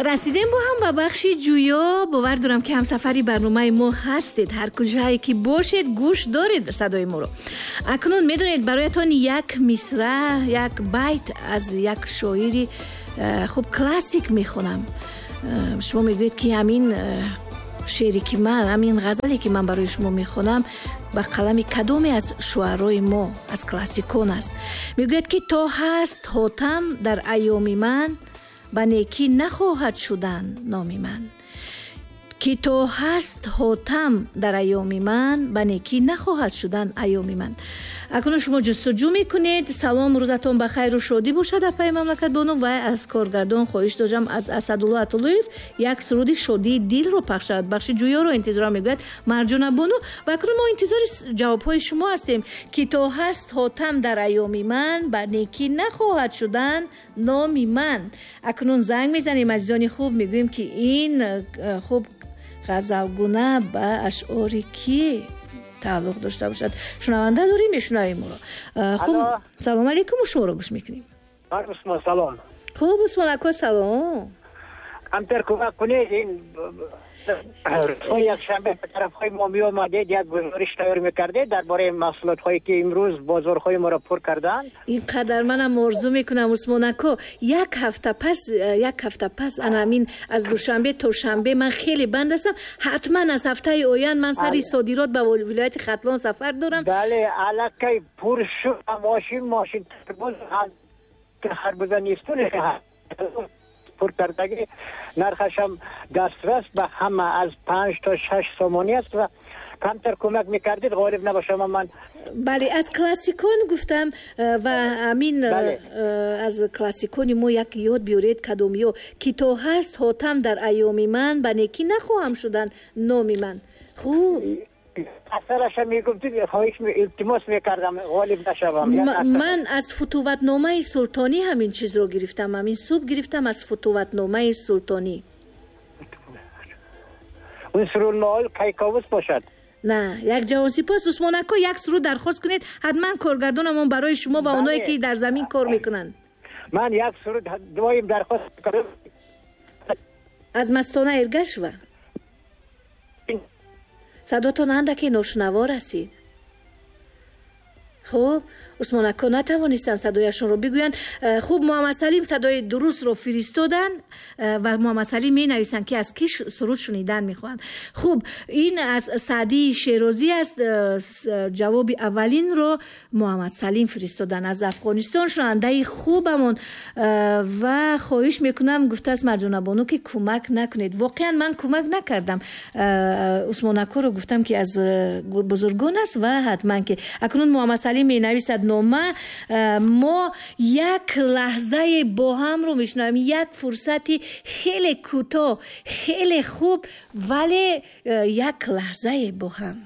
Расидем бо ҳам ба бахши ҷӯё. Бовар дорам, ки ҳамсафари барномаи мо ҳастед. Ҳар куҷое ки бошед, гӯш доред садои моро. Акнун медонед, бароятон як мисра, як байт аз як шоири хуб, классик мехонам. Шумо мегӯед, ки ҳамин шеъре ки ман, ҳамин ғазале ки ман барои шумо мехонам, ба қалами кадоме аз шуарои мо, аз классикон аст. Мегӯяд, ки то ҳаст ҳотам дар айёми ман, ба некӣ нахоҳад шудан номи ман. Ки то ҳаст ҳотам дар айёми ман, ба некӣ нахоҳад шудан айёми ман. Акнун шумо ҷустуҷӯ мекунед. Салом, рӯзатон ба хайру шодӣ бошад, апаи Мамлакатбону, ва аз коргардон хоҳиш доштам, аз Асадулло Атуллоев як суруди шодии дилро пахш шавад. Бахши ҷӯёро интизорам, мегӯяд Марҷонабону. Ва акнун мо интизори ҷавобҳои шумо ҳастем, ки то ҳаст ҳотам дар айёми ман, ба некӣ нахоҳад шудан номи ман. Акнун занг мезанем, азизони хуб, мегӯем, ки ин хуб ғазалгуна ба ашъори кӣ тааллуқ дошта бошад. Шунаванда дорем, мешунавем моро. Хуб, салом алейкум, шуморо гӯш мекунем. Усмон, салом. Хуб, Усмон ако, салом. Камтар кӯмак кунед. Ин рӯзҳои якшанбе ба тарафҳои мо меомадед, як гузориш тайёр мекардед дар бораи маҳсулотҳое, ки имрӯз бозорҳои моро пур карданд. Ин қадар манам орзу мекунам, Усмон ако. Як ҳафта пас, ана ҳамин аз душанбе то шанбе ман хеле банд ҳастам. Ҳатман аз ҳафтаи оянд ман сари содирот ба вилояти Хатлон сафар дорам. Бале, аллакай пур шуд, мошин мошин тарбуз, харбуза несту, пур кардагӣ. Нархашам дастрас ба ҳама аз 5 то 6 сомонӣ аст ва камтар кӯмак мекардед, ғолиб набошам ман. Бале, аз классикон гуфтам ва ҳамин аз классикони мо як ёд биёред, кадомиё, ки то ҳаст ҳотам дар айёми ман, ба некӣ нахоҳам шудан номи ман. Хуб. Асараша мегуфтид, хоҳиш, илтимос мекардам, ғолиб нашавам. Ман аз Футуватномаи Султонӣ ҳамин чизро гирифтам, ҳамин субҳ гирифтам аз Футуватномаи Султонӣ. Он Сурулмаол Кайковус бошад. На, як ҷавонсипос. Усмон ако, як суруд дархост кунед, ҳатман коргардонамон барои шумо ва оное ки дар замин кор мекунанд. Ман як суруд доим дархост. Аз Мастона Эргашева. Садотон андаке ношунаво расид. Хуб, Усмон ако натавонистанд садояшонро бигӯянд. Хуб, Муҳаммадсалим садои дурустро фиристоданд ва Муҳаммадсалим менависанд, ки аз кӣ суруд шунидан мехоҳанд. Хуб, ин аз Саъдии Шерозӣ аст. Ҷавоби аввалинро Муҳаммадсалим фиристоданд аз Афғонистон, шунавандаи хубамон. Ва хоҳиш мекунам, гуфтааст Марҷонабону, ки кӯмак накунед. Воқеан ман кӯмак накардам. Усмон акоро гуфтам, ки аз бузургон аст ва ҳатман ки акнун Муҳаммадсалим менависад нома. Мо як лаҳзае бо ҳамро мешунавем, як фурсати хеле кӯтоҳ, хеле хуб, вале як лаҳзае бо ҳам.